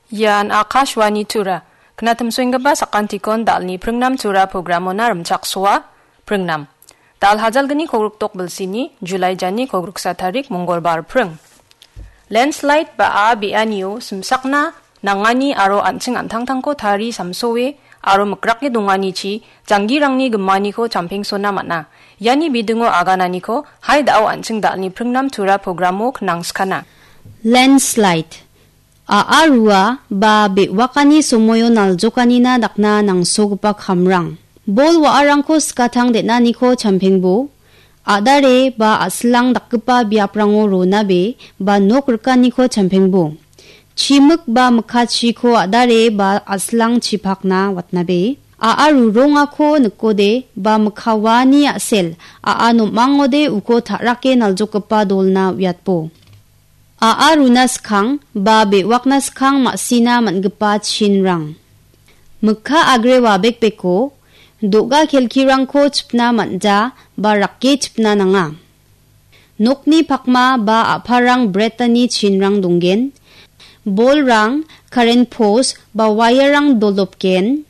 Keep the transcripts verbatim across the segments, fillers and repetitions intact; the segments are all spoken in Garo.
Ian Akashvani Tura. Knatimsoenggipa sakantikon dalni pringnam Tura programona rimchaksoa. Pringnam. Dal hajalgni kogrikdok bilsini, Julai jani kogriksa tarik Mongolbar pring. Landslide ba a be·anio simsakna nangani aro an·ching an·tangtangko tari samsoe aro mikrake donganichi janggirangni gimaniko champengsona man·a. Iani bidingo agananiko hai da·o an·ching dalni pringnam Tura programo knangskana. Landslide. A A rua ba be·wakani somoio naljokanina dakna nangsogipa kamrang. Bol wa·arangko skatang den·aniko champengbo. A·dare ba a·silang dakgipa biaprango ronabe ba nok rikaniko champengbo. Chimik ba mikkachiko a·dare ba a·silang chipakna watnabe. A A rurongako nikode ba mikka waani a·sel, a·a nom·angode uko ta·rake naljokgipa dolna uiatbo. A A runa skang ba be·wakna skang ma·sina man·gipa chinrang. Mikka agre wabekbeko do·ga kelkirangko chipna man·ja ba rake chipna nanga. Nokni pakma ba a·parang bretani chinrang donggen. Bolrang, karen pos ba wairang doldopgen.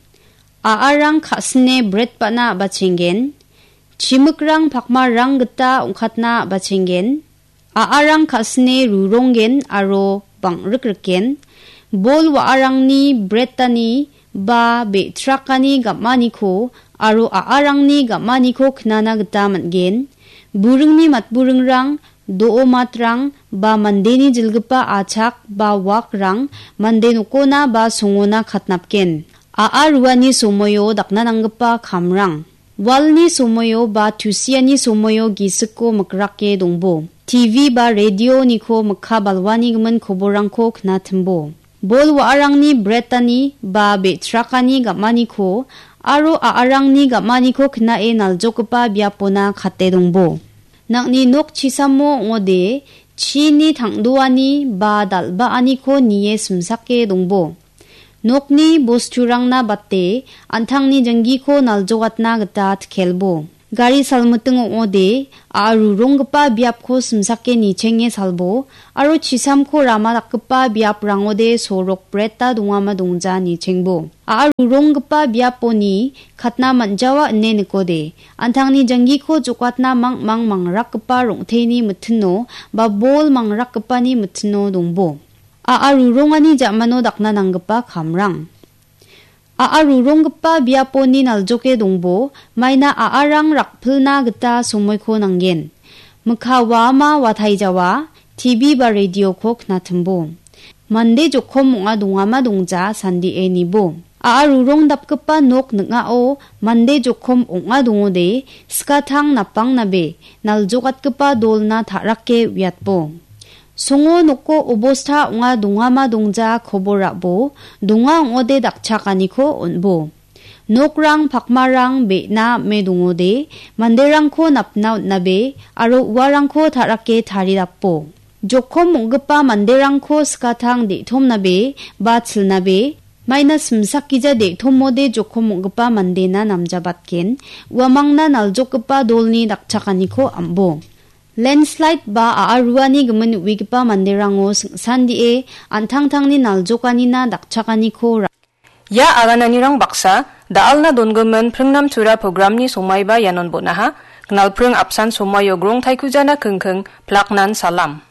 A A rang ka·sine bret ba·na a·bachenggen. Chimikrang pakmarang gita ong·katna a·bachenggen. A A rang ka·sine ruronggen aro bang·rikrikgen. Bol wa·arangni bretani ba be·trakani gam·aniko aro a·arangni gam·aniko knana gita man·gen. Buringni matburingrang, do·o matrang ba mandeni jilgipa achak ba wakrang mande nokona ba songona katnapgen. A A ruani somoio dakna nanggipa kamrang. Walni somoio ba tusiani somoio gisikko mikrake dongbo. T V ba radioniko mikka balwani gimin koborrangko knatimbo. Bol wa·arangni bretani ba be·trakani gam·aniko aro a·arangni gam·aniko knae naljokgipa biapona kate dongbo. Nang·ni nok chisamo ong·ode chini tang·doani ba dal·baaniko nie simsake dongbo. Nokni bosturangna bate an·tangni janggiko naljokatna gita tkelbo. Gari salmiting ong·ode, a·a ruronggipa biapko simsake nichenge salbo, aro chisamko rama dakgipa biaprangode sorok breta dongama dongja nichengbo. A·a ruronggipa biaponi katna man·jawa ine nikode, an·tangni janggiko jokatna mangmang mangrakgipa rong·teni mitino ba bol mangrakgipani mitino dongbo. A·a rurongani ja·mano dakna nanggipa kamrang. A·a ruronggipa biaponi naljoke dongbo, maina a·arang rakpilna gita somoiko nanggen. Mikka waama wataijawa, T V ba radioko knatimbo. Mande jokom ong·a dongama dongja sandie nibo. A·a rurong dapgipa nok ning·ao mande jokom ong·a dongode, skatang napangnabe naljokatgipa dolna ta·rake uiatbo. Songo noko obosta ong·a dongama dongja kobor ra·bo, donga ong·ode dakchakaniko on·bo. Nokrang pakmarang be·na ame dongode, manderangko napna on·nabe aro uarangko ta·rake taridapo. Jokom ong·gipa manderangko skatang de·tomnabe ba chilnabe, maina simsakgija de·tomode jokom ong·gipa mandena namjabatgen, uamangna naljokgipa dolni dakchakaniko am·bo. Landslide ba a·a ruani gimin uigipa manderango sing·sandie an·tangtangni naljokanina dakchakaniko ra-, ia agananirang baksa da·alna dongimin Pringnam Tura programni somaiba ianon bon·aha. Knalpring apsan somaio grong taikujana kingking, plaknan salam.